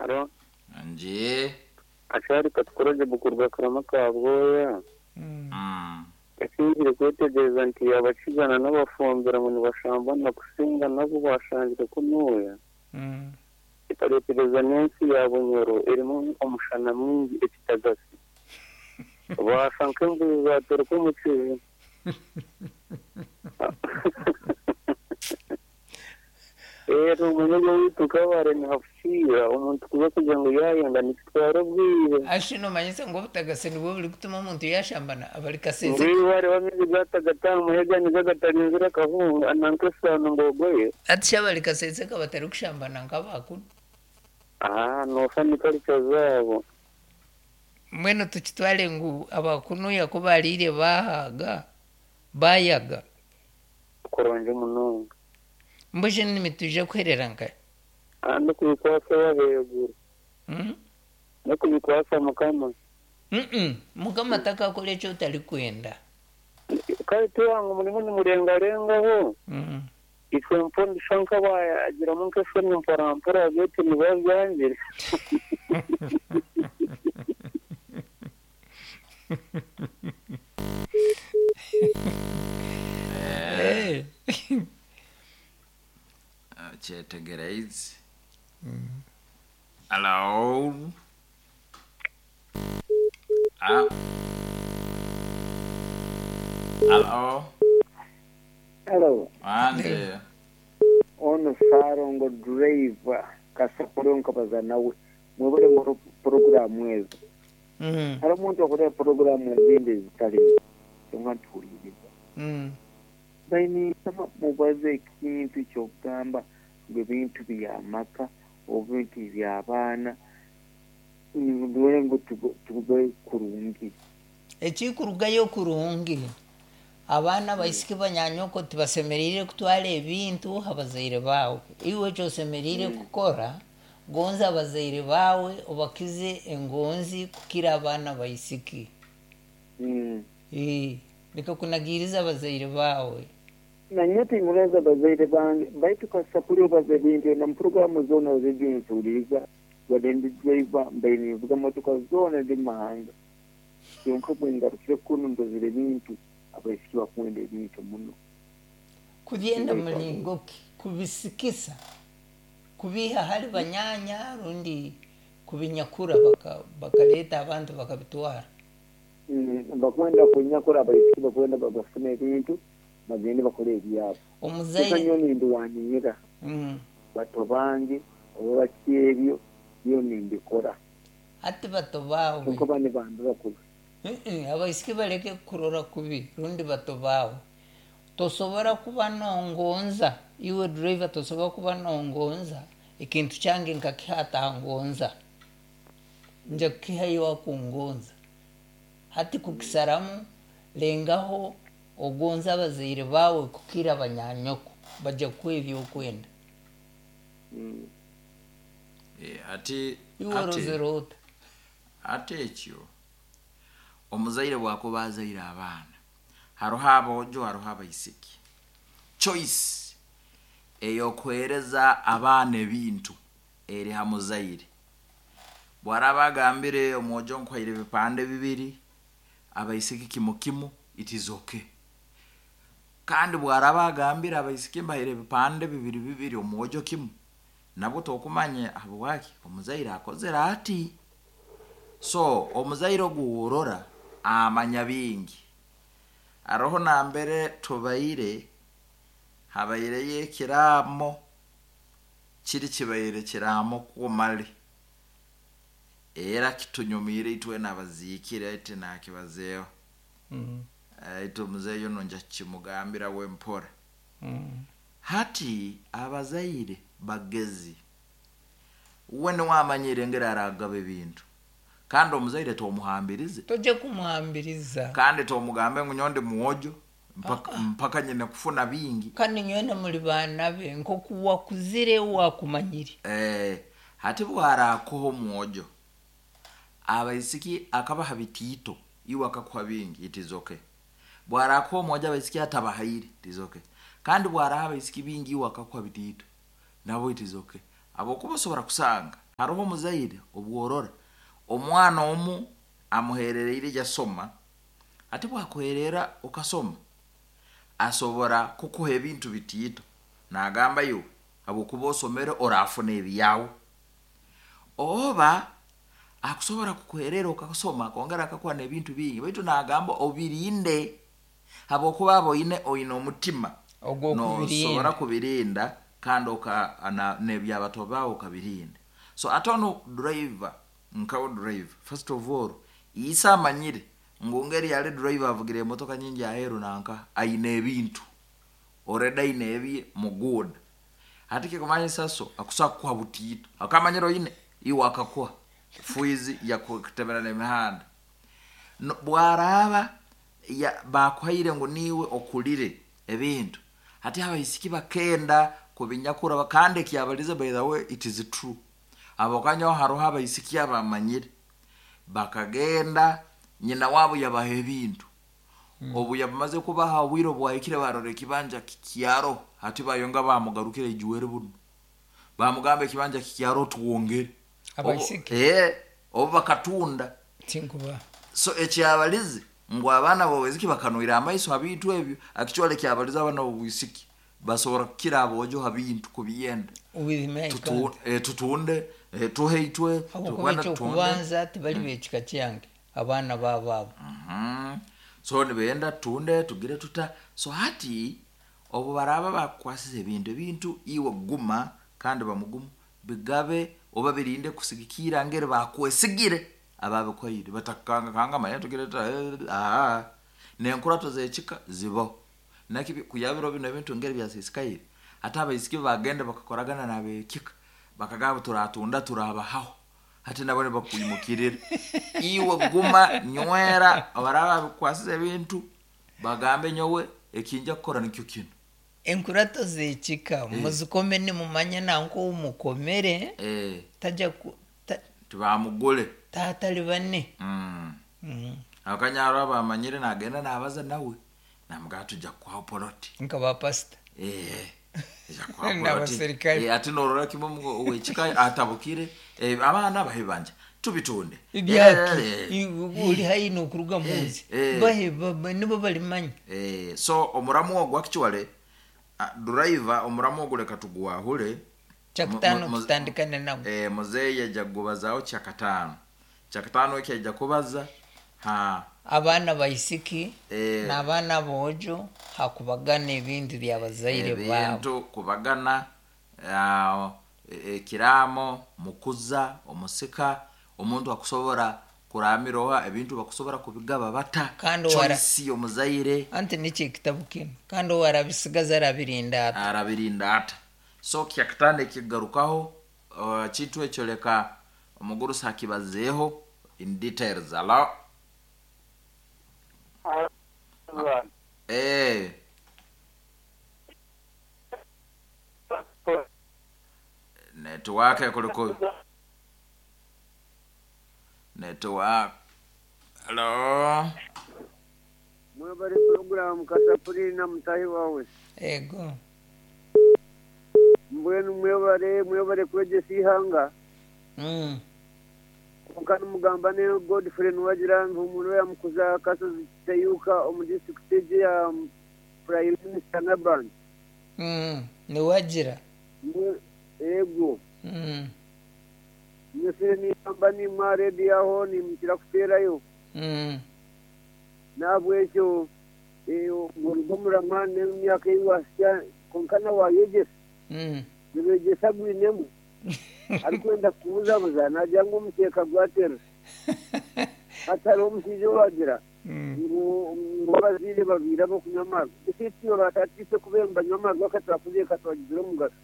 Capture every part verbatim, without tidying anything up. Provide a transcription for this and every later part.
Aro Nje. Achari katukoroje bukurwa karama ka bwoya. Mm. Ekingire kwetegereza nti abakigana n'abafumbira ngu nibashambana kusinga nabo bashangire kunuya. Mm. Ekareetereza n'ensi ya Bunyoro erimu omushana mwingi ekitagasi. Baasa nk'embuzi zateruka omu kizi. Rero omunyega waitu kabare nihafukiira omuntu kuba kugira ngu yayenda nikitwara obwire. Ashi nomanyisa ngu obutagasi nibwo buri kutuma omuntu yashambana abari kasese. Ngiwe hariho amaizi gatagata muhega nigo gatarinzire akahunga nanka esaano ngogoye. Ati shi abari kasese ka batari kushambana nk'abakunu. Ah, noofa ni culture zaabo. Mbwenu tukitware ngu abakunuya ku bariire bahaga bayaga. Kurungi munonga. Mbwenu nimitwija kuherera nkahi? Ah, n'okubikwasa wabeeguru. Mm? N'okubikwasa Mukama. Mm-mm. Mukama takakora eki otarikwenda. Kare tiwanga omurimo nimurengarengaho. Mm. Itwe mpondisha nk'abayagiramu nk'eshoni mpora beitu nibabyangire. Eh. Kyetegereize. Hello. Ah. Hello. Hello, Anje. ono Sarongo driver kasakore nkabaza nawe mwebale mu porogaramu ezo. Mm. Hari omuntu akora porogaramu ezindi ezitali kyonka ntuhuliriza. Mm. Baine mubaze ekintu ky'okugamba ngu ebintu by'amaka oba ebintu by'abaana ndore ngu tube kurungi. Ekikurugayo kurungi abaana baisiki banyanyoko tibasemereire kutwara ebintu abazaire baawe. Iwe ekyosemereire kukora gonza abazaire baawe obakize engonzi kukira abaana baisiki. Mm. Eh, leka kunagiriza abazaire baawe. Nanye tingulenza abazaire bange baitu kasapuri obaza ebintu na mu zoona zezinsuuliza wadde ndi driver mbaire ninvuga motoka zoona ndi mahanga kyonka bwe ngarukire kunu ndozire ebintu abaisiki bakwenda ebintu muno. Kubyenda mulingo ki? Kubisikisa, kubiha hali banyanya rundi kubinyakura baka, bakaleeta abantu bakabitwara. Mm, bakwenda kunyakura abaisiki bakwenda bafune ebintu bagende bakole ebyabo. Omuzaire Nyo nindiwaniira mm. bato bange oba baki ebyo byo nimbikora. Ati bato baawe. Kyonka bane bambi bakuru. Mm-mm, abaisiki baleke kurora kubi rundi bato baawe. Tosobora kuba nongonza iwe driver tosobora kuba nongonza ekintu kyange nkakihata ngonza nja kukiha iwe akungonza. Hati kukisaramu lengaho ogonza abazaire baawe kukira abanyanyoko bajja kukuha ebyokwenda. Mm. Eh, ati Iwe ati orozere ota? ate ekyo omuzaire bwakuba azaire abaana hariho aboojo hariho abaisiki. Choice ey'okuheereza abaana ebintu eri ha muzaire. Bwaraba agambire omwojo nkuhaire ebipande bibiri abaisiki kimu kimu it is okay. Kandi bwaraba agambire abaisiki mbahaire ebipande bibiri bibiri omwojo kimu nabwo tokumanya habwaki omuzaire akozere ati. So omuzaire ogu worora amanya bingi. Hariho nambere tubaire habaireyo ekiraamo kiri kibaire kiraamo kumale era kitunyumiire itwena abaziikire ati nakibazeeho. Mm. Itwe omuzeeyi ono nja kukimugambira we mpora. Mm. Hati abazaire bagezi we niwe amanyire engeri aragaba ebintu kandi omuzaire tomuhambirize. Tojja kumuhambiriza. Kandi tomugambe ngu nyowe ndi mwojo mpaka, mpaka nyine kufuna bingi. Kandi nywena muri baana be nkoku wakuzire wakumanyire. Eh, hati bwarakuha omwojo abaisiki akabaha bitiito iwe akakuha bingi it is okay. Bwarakuha omwojo abaisiki atabahaire it is okay. Kandi bwaraha abaisiki bingi iwe akakuha bitiito nabo it is okay. Abokuba osobora kusanga Hariho omuzaire obworora omwana omu amuherereire yasoma, ati bwakuherera okasoma asobora kukuha ebintu bitiito, nagamba iwe habwokuba osomere orafuna ebyawe, oba akusobora kukuherera okasoma akongera akakuha n'ebintu bingi, baitu nagamba obirinde habwokuba aba oine oine omutima ogw'okubirinda nosobora kubirinda kandi oka na- n'ebyabato bawe okabirinda. So ate onu driver nkawe driver, first of all ise amanyire ngu ngeri yali driver avugire emotoka nyingi aheru nanka aine ebintu already aine ebi muguda, ati kikumanyisa so akusobola kukuha butiito akamanyire oine iwe akakuha fuizi yakutemera n'emihanda. No, bwaraba ya- bakuhaire ngu niiwe okulire ebintu, hati abaisiki bakenda kubinyakura kandi ekyabalize, by the way it is true, abokanyaho haroho abaisiki abamanyire bakagenda nyina wabo yabaha ebintu, obu yabamaze kubaha obwire obwahikire barora ekibanja kikyaro, hati bayonga bamugarukire ijuwere buno bamugamba ekibanja kikyaro tuwongere. Abaisiki? Obu- eh, obu bakatunda. Tinkuba. So ekyabalize ngu abaana bobwisiki bakanwire amaiso ha bintu ebyo, actually ekyabalize abaana bobwisiki basobora kukira abojo ha bintu kubyenda. With me I Tutu- can't. eh, tutunde eh, tuhe itwe Habwokuba tukwenda tutunde. ekyokubanza tibali bekika kyange abaana baabo abo. Mhm. So nibenda tutunde tugire tuta. So hati obu baraba bakukwasize ebintu, ebintu iwe guma kandi bamugumu bigabe oba birinde kusigikira ngeri bakwesigire ababikwaire batakukanga kanga manya tugire tuta eh, ah nenkurato zekika zibaho nakibi kuyabiro bino ebintu ngeri byasisikaire, ate abaisiki bagenda bakakoragana nabekika bakagamba turatunda turabahaho, hati nabo nibakwimukirira iwe guma nywera abaraba babikwasize ebintu bagambe nyowe ekinja kukora nikyo kino. Enkurato zekika muzikome nimumanya nanko umukomere eh tajya ku- ta- tibamugule taatali bane. mm. Mm. Akanyaro bamanyire nagenda nabaza nawe namugamba tujja kukuha poloti Nka bapasita. Eh, ija kukuha poloti. N'abaserikale. Eh, ati norora kimwe mu- wekika atabukire eh, abaana bahe banja tubitunde. Ibyaki Eh, I- uri hayi nokuruga munsi Eh. bahe ba- nibo balimanya. eh, so omuramu ogwo actually ah, driver omuramu ogwo leka tugwahure. Kyakutaano Mu- mu- tutandikane nagwo. eh, muzeeyi ajja kugubazaho kyakataano, kyakataano eki ajja kubaza ha Abaana baisiki Eh. n'abaana aboojo hakubagana ebintu byabazaire baabo. Ebintu kubagana, ah, e- ekiraamo mukuza omusika omuntu akusobora kuramiroha ebintu bakusobora kubigaba bata. Kandi wara- choice omuzaire anti nikyo ekitabu kinu kandi owarabisigaza arabirinda ata. Arabirinda ata. So kyakataano ekigarukaho uh, kintu ekyo leka omugurusi akibazeeho in details. Alo? Eh, network kuliko network. Alo? Mwebale puroguramu Kasapuri na mutahi wawe. Ego. Mbwenu mwebale mwebale kwegyesa ihanga. Mm. Konka nimugamba ne Godfrey niwagira ngu omuntu yamukuza kasozi kitayuka omu district egi ya Prime Minister Naban. Mm. Niwagira. Mbwe- ego. Mm. Nyesire nigamba nimwa rediyo aho nimukira kuteerayo. Mm. Nahabwekyo oruga omurama n'emyaka ei wasya konka nawayegyesa Mm. nibegyesa gwinemu arikwenda kubuzabuza nagira ngu omuteeka gwatera hati hariho omushaija owagira Mm. ngu ngu abazaire babiire ab'okunywa amarwa ese tiyo batatise kubeera nibanywa amarwa akatwakuziika twagizire omugasho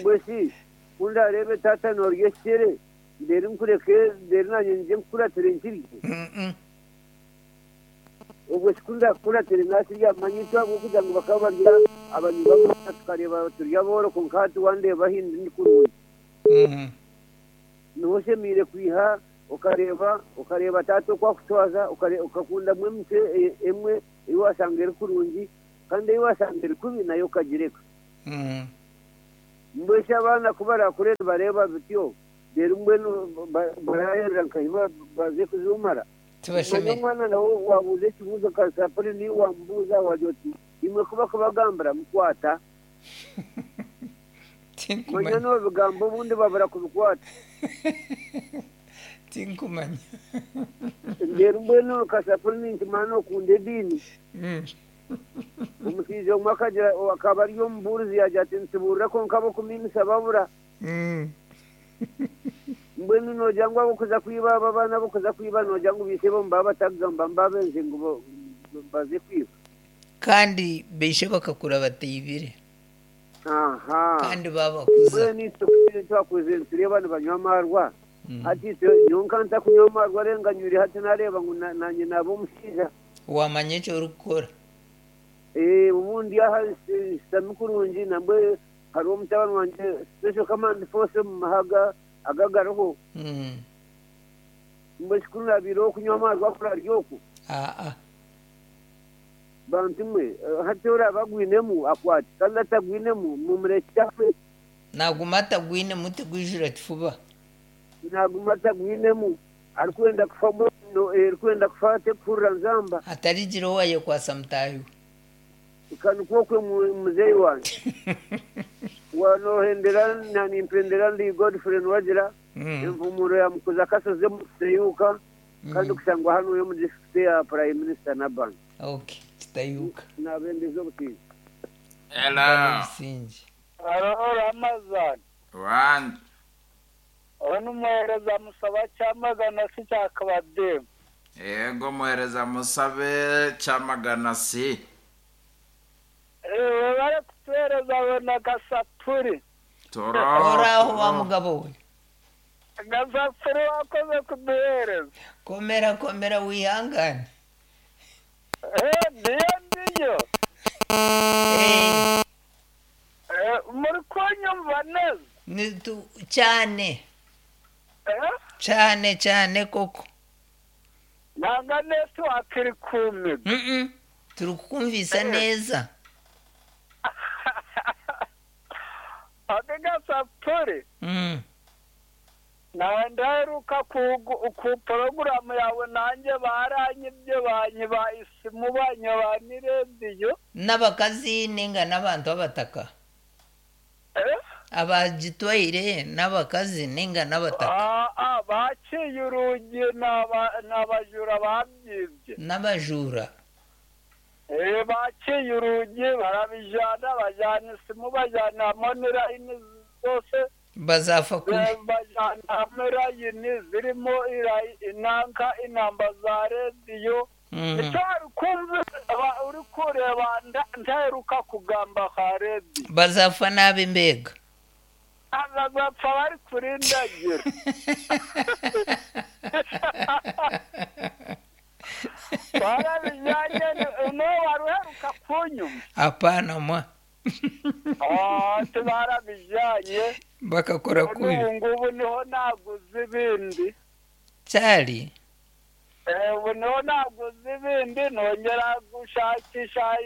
mbwe si kundareebe tata norya ekikere ndeeri nkureke ndeeri nanye ngye nkukuratire nkirye. Mm, mm. Obwo sikundakukuratire nakirya manya itwe ahabw'okugira ngu bakaba barya abanywi b'amata tukareeba turya abooro konka hati wandeeba ahindi ndi kurungi. Mm. Niho oshemereire kwiha okareeba okareeba taata oku akutwaza okare- okakundamu emicwe e- emwe ei washanga eri kurungi kandi ei washanga eri kubi nayo okagireka. Mm. Mbwesha abaana kubarakure nibareeba bityo rero mbwenu barahera nkahiba baze kuzumara. Tibashemere. Omwana nawe wabuuza ekibuuzo kasapuri niwe wamubuuza wagira oti imwe kuba kubagambira mukwata. Tinkumanya. Manya n'ebigambo obundi babura kubikwata. Tinkumanya. Rero mbwenu kasapuri ninkimanya okunda ediini. Omushaija omwe akagira akaba ari omubuurizi yagira ati nitubuurira kwonka ab'okumiimisa babura. Mbwenu noogira ngu ab'okuza kwiba aba abaana ab'okuza kwiba noogira ngu baise bo nibaba batakugamba mbabenze ngu baze kwiba. Kandi baishe bakakura bataibire. Aha. Kandi babakuza. Mbwenu itwe twakuze nitureeba nibanywa amarwa. Hati itwe nyowe ntakunywa amarwa renga nywire hati nareeba ngu nanye naaba omushaija. Wamanya eki orikukora. Eh, ubundi aha nshutami kurungi nambwe hariho omutabani wangye Special Command Force omu mahaga agagariho. Mbwe kikuru nabiireho okunywa amarwa kurarya oku. Aa. Bantu mwe hati oraba agwinemu akwate kandi atagwinemu mumurekye afe. Naguma atagwinemu tigwijura kifuba. Naguma atagwinemu arikwenda kufa arikwenda kufa atekuhurira nzamba. Atarigira owayekwasa mutaahi we. Kanikwo muzeeyi wange. Wanohendera nanimpendera ndi Godfrey Nwagira envumuro ya Mukuza Kasozi Muteyuka kandi kushangwa hano yo mu district ya Prime Minister Naban. Okay, kitayuka. Nabendeza obutinzi. Hello. Haro Ramazan. One. Onu muhereza musaba cyamagana si cyakabade. Yego muhereza musabe cyamagana si. Eh bari kutuhereza bona gasapuri. Toro. Oraho wa mugabo we. Gasapuri wakoze kuduhereza. Komera komera wihangane. Eh ndiyo ndiyo. Eh. Eh muri kunyumva neza. Ni tu cyane. Eh? Cyane cyane koko. Nanga network iri kumiga. Mm. Turi kukumvisa neza. Ake gasapuri. Mm. Nawe ndaheruka ku porogaramu yawe nanjye baranyibye banyiba isimu banyiba n'irediyo. N'abakazi ninga n'abantu b'abataka. Eh? Abagitwaire n'abakazi ninga n'abataka. Ah, ah, baciye urugi n'abajura babyibye. N'abajura. Eh, baciye urugi barabijana bajana isimu bajana monirayini zose. Bazafa kubi. Bajana mirayini zirimo inanka inamba za rediyo. Icyo wari kumva uri kureba ntaheruka kugamba ka rediyo. Bazafa nabi mbega. Bazapfa bari kurindagira. Barabijyanye n'uwo wari uheruka kunyuma. Hapana mwa. Ah, barabijyanye. Bakakora kubi. Ubu ngubu niho naguze ibindi. Cyari. Eh, ubu niho naguze ibindi nongera gushakisha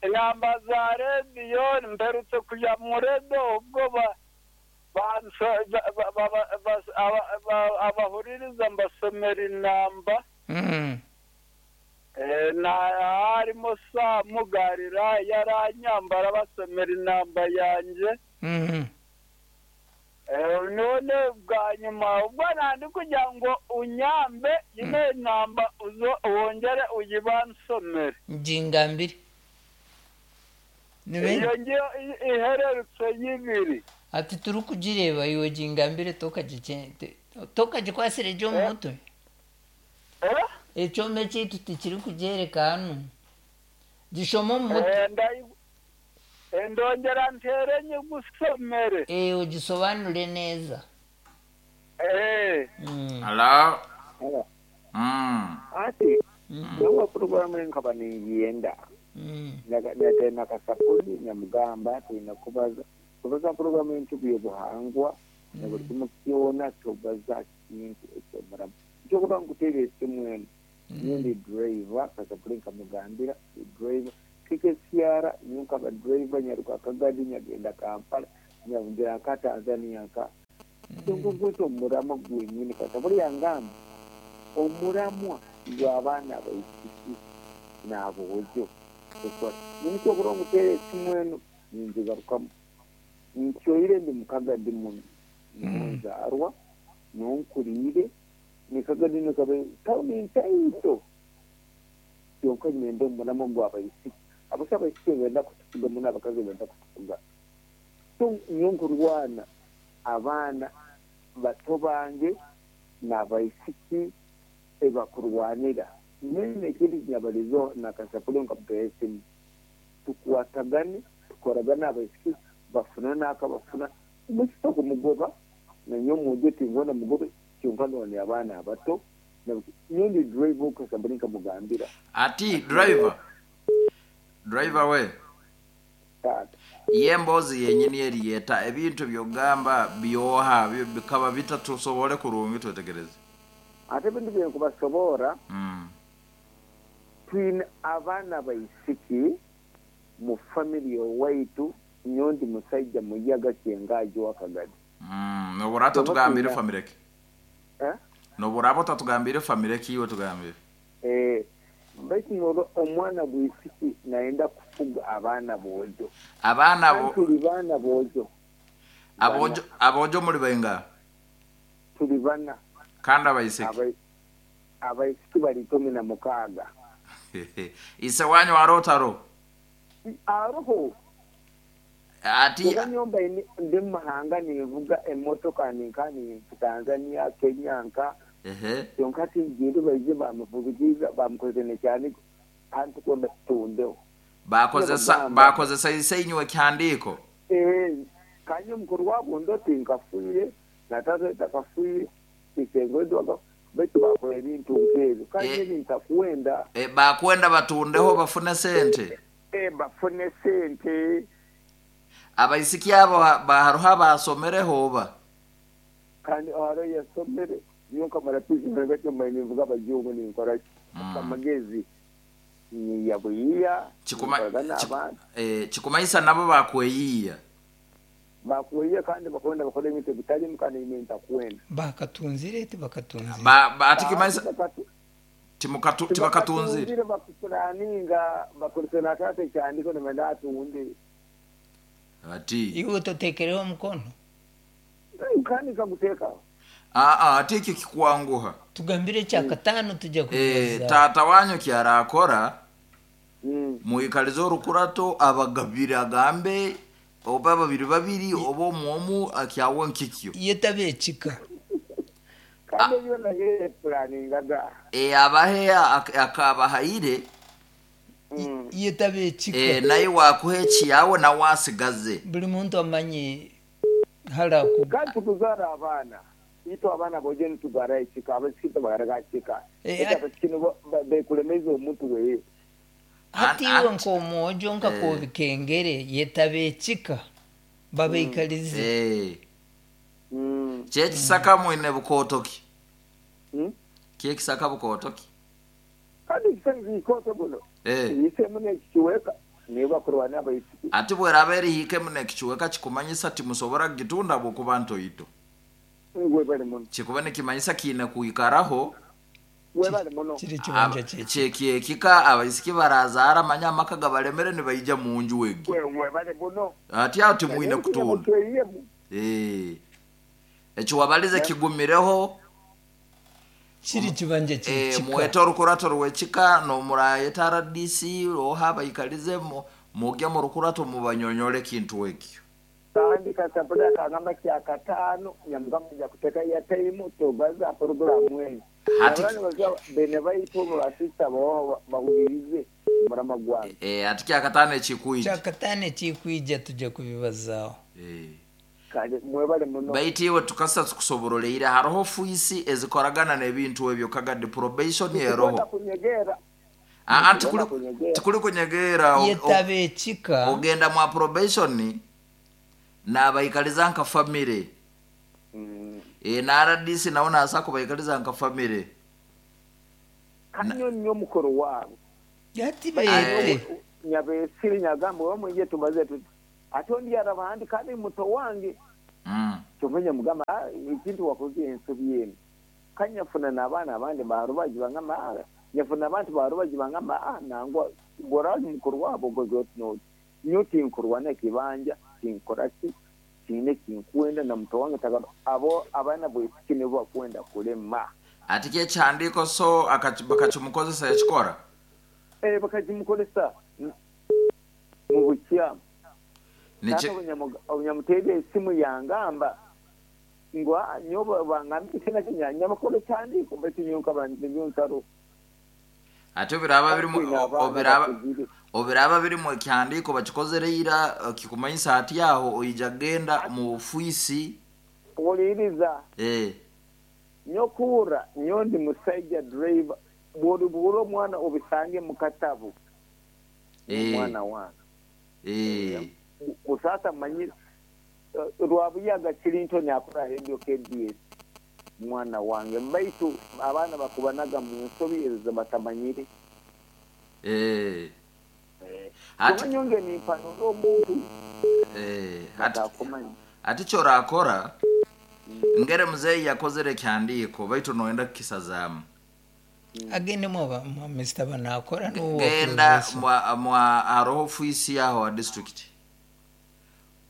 inamba za rediyo mperutse kujya mu rediyo ubwo ba abahuririza mbasomera inamba. Mm. Na harimo Samugarira yaranyambara basomera inamba yanjye. Mm. None bwa nyuma ubwo nandi kugira ngo unyambe ino namba uzo wongere uyibansomere. Ngingambiri. Nibe Iyo ngiyo ihererutse y'ibiri. Ati turi kugireba iyo gingambire tokagikente tokagikwasire ryo mu mutwe. Eh? Ekyoma kyaitu tikiri kugyereka hano. Gishoma omu mutwe. Ndongera ntere nyigusomere. Eh, ugisobanure neza. Eh. Mm. Hello. Mm. Ati nawe porogaramu nkaba ningiyenda. Mm. Natena kasapuri nyamugamba tulina kubaza kubaza porogaramu y'entugu y'obuhangwa na buli kimu kyona tubaza kintu ekyomuramu. Ekyokuba nkuteera esimu eno nyowe ndi driver kasapuri nkamugambira driver K K C R nyowe nkaba driver nyaruka Kagadi nyagenda Kampala Nyavugira nka Tanzania nka ngugwita omuramwa gwenyini kata buli yangamba omuramwa gw'abaana abaisiki n'aboojo ninsobora omuteera esimu eno ninzigarukamu nkyoire ndi mukagadi muno nzaarwa nonkuriire nikagadi nikabe tawuni ntaito kyonka nyenda omuramwa gw'abaisiki abasa abaisiki benda kutufuga muno abakazi benda kutufuga so nyonkurwana abaana bato bange n'abaisiki ebakurwanira nene ekindi nyabalizo nakasapule nkamuteera esimu tukwatagane tukoragane abaisiki bafuna n'akabafuna omusita kumugoba nanyo omwojo tingona mugobe kyonka none abaana abato nyondi driver okasabule nkamugambira Ati driver driver we taata ye emboozi yenyini eriyeta ebintu byogamba byoha byo- bikaba bitatusobole kurungi twetegereze ate ebintu byenkubasobora mm. twine abaana baisiki mu family owaitu nyondi musaija muyaga kyengaji wakagadi mm. noburaba tatugambire famire ki eh? noburaba otatugambire famire ki iwe tugambire Eh, baitu noro omwana bwisiki naenda kufuga abaana boojo abaana Kandi bo tuli baana boojo abojo abojo muri benga tuli bana kandi abaisiki Abai- abaisiki bali ikumi na mukaaga ise wanyu warotaro aroho ati kuba nyomba ini- ndi mumahanga ninvuga emotoka ninka ni Tanzania Kenya nka ehe kyonka tinjiri baije bamuvugiza bamukoze nekyani anti kwenda tutundeho bakozesa Bagamba. bakozesa ise inywe kihandiko Eh, kanye omukuru wabo ndoti nkafiire natata takafiire isengo baitu bakora ebintu nk'ebyo kanye Eh. ebintu akuwenda e, bakwenda batundeho bafune sente eh, bafune sente abaisiki abo ha- ba- hariho abasomereho oba kandi aro yasomere niyo nkamara kwisomera gatyo mbaye ninvuga abajungu ninkora ki Mm. amagezi niyabuyiya Kikuma- ninkoraga ki- n'abantu eh, kikumaisa nabo bakweyiya bakuyiya kandi bakwenda bakora ebintu ebitarimu kandi ine ntakwenda bakatunzire tibakatunzire ba, ba, ati kimaisa Bakatu- timukatu- tibakatunzire tibakatunzire bakupulaninga bakozesa natata ekyandiko nimenda atunde ati iwe totekereho omukono kandi nkaguteekaho aa ati ekyo kikwanguha tugambire kyakataano tujya e, kubibaza tata wanyu kyarakora Mm. muikalize orukurato abagabire agambe oba babiri babiri oba omwomu akyawe nkikyo iyo tabekika kandi ebyo naye pulaningaga e, abahe ak- akabahaire Mm. iyo tabekika e, naye wakuha ekiyawe nawe asigaze buli muntu amanye halaku kandi tukuzaara abaana itu abaana boje nitugara ekika abasiki tebagaraga kika Eh, ete abasiki nibo ba- bekulemeza omuntu weye hati An- iwe at- nk'omwojo nkakobikengere yetabekika babaikalize e, Mm. kyekisaka mwine bukotoki Mm. kyekisaka bukotoki kandi ekisaka kikoto buno e. yisemu nekikiweka niyo bakurwana abaisiki ati bweraba erihike muno ekikiweka kikumanyisa timusobora kugitunda bwokuba ntoito webale muno kikuba nikimanyisa kiine kuikaraho webale muno kiri kibanja kye kyekyekika abaisiki barazaara manya amaka gabalemere nibaija munju egi We- webale muno ati aho timwine kutunda mutweyemu Eh. ekyo wabalize kigumireho kiri kibanja eh, kyekika muwete orukurato rwekika nomurayeta R D C oha baikalize mu- mugye mu rukurato mubanyonyole ekintu ekyo kandi kasapula kagamba kyakataano nyamugamba nja kuteeka ya taimu tobaza poroguramu eyo Hati- Abaana baza bene baitu basista bawa bahulirize murama gwange Eh, ati kyakataano ekikwija kyakataano ekikwija tujja kubibazaaho Eh. kandi mwebale muno baitu iwe tukasa tukusoboroleire hariho fuisi ezikoragana n'ebintu ebyo kagadi probation Tukwenda eroho kunyegera Ah, ah, Tukwenda tikuli- kunyegera. tikuli kunyegera o- o- yetabekika ogenda mwa probation nabaikaliza nka famire Mm. e, na R D C nawo nasa kubaikaliza nka famire kanyo nnyo omukoro waabwe ati bayete nyabeesiri nyagamba oba mwenje tubaze tuti Ate ondi yaraba handi kandi muto wange. Mm. Kyomanya mugamba "Ah, ekintu wakoze ensobi eno. Kanyafuna n'abaana abandi barubaji bangamba "Ah, nyafuna abantu barubaji bangamba ah nangwa gorali mukuru wabo goze oti noti. Nyo tinkurwana ekibanja tinkora ki tiine kinkwenda na muto wange tagara abo abaana bwesiki nibo bakwenda kulema. Ati kyekihandiiko so akachi- bakakimukozesa yakikora. Eh bakakimukozesa mu bukyamu. Niki Obunyamuteebe esimu yangamba ngu "Ah, nyowe bangambye na nyamakuru kyandiiko baitu nyowe nkaba nyowe ntaro. Ate obiraba birimu Kwina abaana obiraba bakuzire. obiraba birimu ekihandiiko bakikozere ira eh, kikumanyisa ati aho oija genda mu ofiisi. Wuliriza. Eh. Nyokuura nyowe ndi musaija driver bw'olibura omwana obisange mu katabu. Eh. Omwana wange. Eh. Kusasa manyi eh, Rwabuyaga Clinton akora Radio K B S mwana wange baitu abaana bakubanaga mu nsobi ezo batamanyire. Eh. Eh. Ati Tumanyonge ni mpanuro omuntu. eh ati Batakumanya. ati kyorakora ngere muzeeyi yakozere ekyandiiko baitu noyenda kukisazaamu. Agende mwa mwa Mister banakora n'uwo Genda probation. mwa mwa haroho ofiisi yaho wa district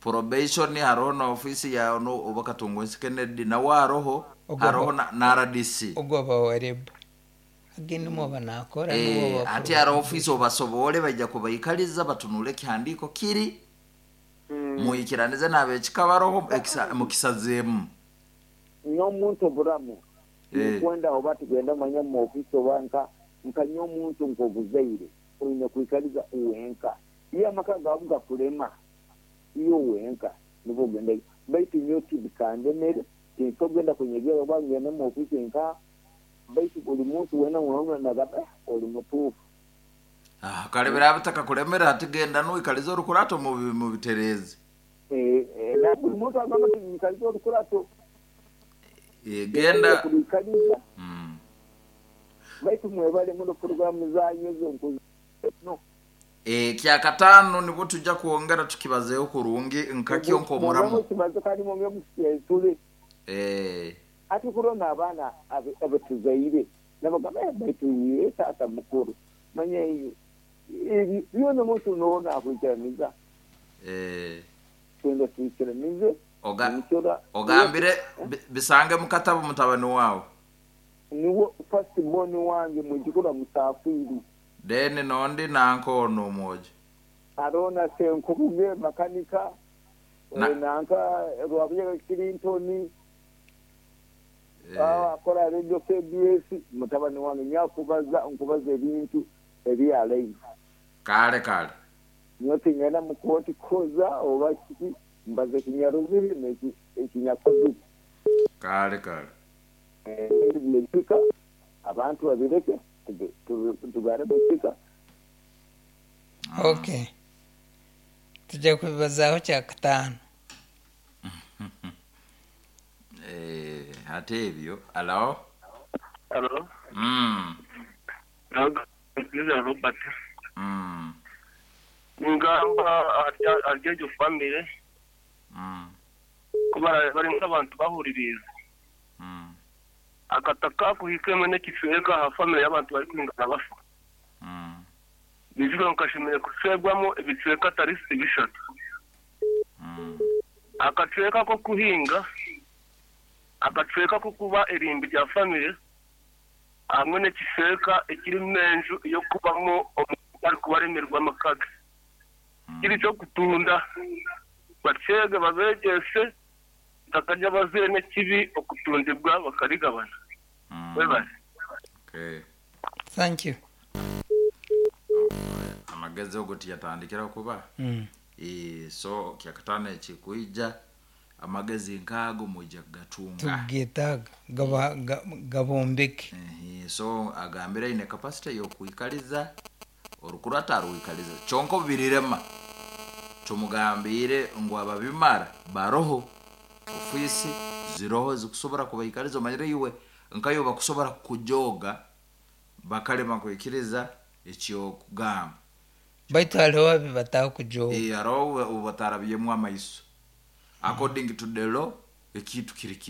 probation haroho na ofiisi yaho no oba Katungu Kennedy nawe haroho Ogwo haroho ba- na, na R D C. Ogwo bawareba. Agende mwa banakora n'uwo Eh, ba ati haroho ofiisi obasobole bajja kubaikaliza batunule ekihandiiko kiri muyikiranize n'abekika baroho ekisa- mukisazeemu. N'omuntu oburamu Eh. nkwenda oba tugenda manya mu ofiisi oba nka nkanya omuntu nk'obuzaire oine kwikaliza uwenka iyo amaka gawe gakulema iyo uwenka nibwo ogenda baitu nyo tibikandemere tinsogenda kunyegera oba ngenda mu ofiisi nka baitu buli muntu wena unaona nagamba eh, oli mutuufu. Ah, kale biraba bitakakulemera ati genda nuikalize orukurato mu mu biterezi. Eh, eh, na buli muntu agamba ti nyikalize orukurato. Eh, genda kulikaliza. Mm. Baitu mwebale muno programu zanyu ezo nkuzi. No. Eh, kyakataano nibwo tujja kwongera tukibazeeho kurungi nkakyo nk'omuramu. Kibazo kandi mwongere mukikyesule. Eh. Ati kurona abaana abe- abetuzaire nabagamba eh, baitu ye taata mukuru manya eyo ebi byona omuntu noona akwikiraniza. Eh. Twenda twikiranize. Oga- Omukyora- ogambire bi- bisange mu katabo mutabani waawe. Niwo first born wange mwijukuru Musafiri. Then nondi nanka ono omwojo. Arona Senkubuge makanika. Na- Eh, nanka Rwabuyaga Clinton. Eh. Ah, akola Radio K B S mutabani wange nyakubaza nkubaza ebintu ebya live. Kale kale. Nyote ngenda mu kooti koza oba kiki mbaze kinyaruziri n'eki ekinyakozi. Kale kale. Eh, ebika abantu babireke tuge-, tuge-, tugare bukika. Okay. Tujja kubibazaho kyakataano. Eh, ate ebyo alo. Alo. Mm. Naga Robert. Mm. Ngamba arya family. Mm. Kuba bari nk'abantu bahuririza. Mm. Akataka kuhikema n'ekicweka ha family y'abantu bari kwingana bafa. Mm. Bivuga nkashimire kucwegwamo ebicweka tarisi bishatu. Mm. Akacweka ko kuhinga, akacweka ko kuba irimbi rya family, hamwe n'ekicweka ekiri menju yo kubamo bari kubaremerwa amakaga. Kiri cyo kutunda bacege babegese bakajya bazire n'ekibi okutundibwa bakarigabana. Mm. Webale. Okay. Thank you. Amagezi ogo tiyatandikira kuba. Mm. E, so kyakataano ekikuija amagezi nkaago mwija kugatunga. Tugetaga gaba ga- gabombeke. Ehe, so agambire ine capacity yokwikaliza orukurata arwikaliza kyonka obirirema tumugambire ngu ababimara baroho ofiisi ziroho zikusobora kubaikaliza omanyire iwe nkayo bakusobora kujoga bakalema kwikiriza ekyokugamba. Baitu hariho abi batakujoga. Eh, hariho obu batarabyemu amaiso. According to the law, ekintu kiri kiri.